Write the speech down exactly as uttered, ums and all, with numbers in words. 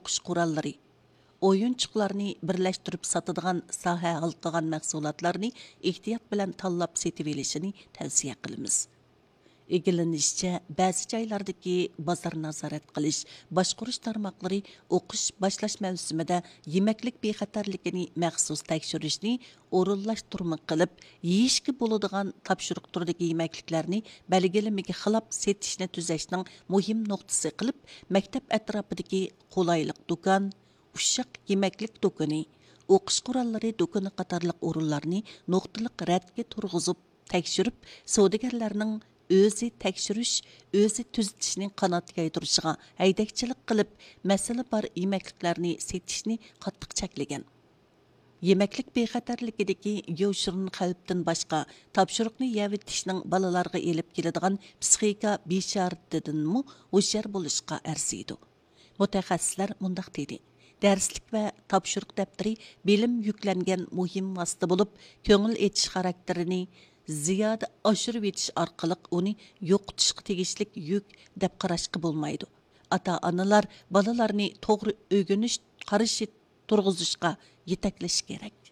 ئوقۇش قوراللىرى، ئويۇنچۇقلارنى بىرلەشتۈرۈپ ساتىدىغان ساھە ھالقىغان مەھسۇلاتلارنى ئېھتىيات بىلەن تاللاپ سېتىۋېلىشىنى تەۋسىيە قىلىمىز. ئىگىلىنىشىچە، بەزى جايلاردىكى بازار نازارەت قىلىش، باشقۇرۇش تارماقلىرى ئوقۇش باشلاش مەۋسۇمىدە يېمەكلىك بىخەتەرلىكىنى مەخسۇس تەكشۈرۈشنى ئورۇنلاشتۇرما قىلىپ، يېيىشكە بولىدىغان تاپشۇرۇق تۈرىدىكى يېمەكلىكلەرنى بەلگىلىمىگە خىلاپ سېتىشنى تۈزەشنىڭ مۇھىم نۇقتىسى قىلىپ، مەكتەپ ئەتراپىدىكى قولايلىق دۇكان، ئۇششاق يېمەكلىك دۇكىنى، ئوقۇش قوراللىرى دۇكىنى قاتارلىق ئورۇنلارنى نۇقتىلىق رەتكە تۇرغۇزۇپ تەكشۈرۈپ، سودىگەرلەرنىڭ ئۆزى تەكشۈرۈش، ئۆزى تۈزىتىشنى قانات يايدۇرۇشىغا ھەيدەكچىلىك قىلىپ، مەسىلە بار يېمەكلىكلەرنى سېتىشنى قاتتىق چەكلىگەن. يېمەكلىك بىخەتەرلىكىدىكى يوشۇرۇن خەۋپتىن باشقا، تاپشۇرۇقنى يەۋېتىشنىڭ بالىلارغا ئېلىپ كېلىدىغان پسىخىكا بىشارىتىدىنمۇ ھوشيار بولۇشقا ئەرزىيدۇ. مۇتەخەسسىسلەر مۇنداق دېدى: دەرسلىك ۋە تاپشۇرۇق دەپتىرى بىلىم يۈكلەنگەن مۇھىم ۋاسىتە بولۇپ، كۆڭۈل ئېچىش خاراكتېرىنى زىيادە ئاشۇرۇۋېتىش ئارقىلىق ئۇنى يوقىتىشقا تېگىشلىك يۈك دەپ قاراشقا بولمايدۇ. ئاتا-ئانىلار بالىلارنى توغرا ئۆگىنىش قارىشى تۇرغۇزۇشقا يېتەكلىشى كېرەك.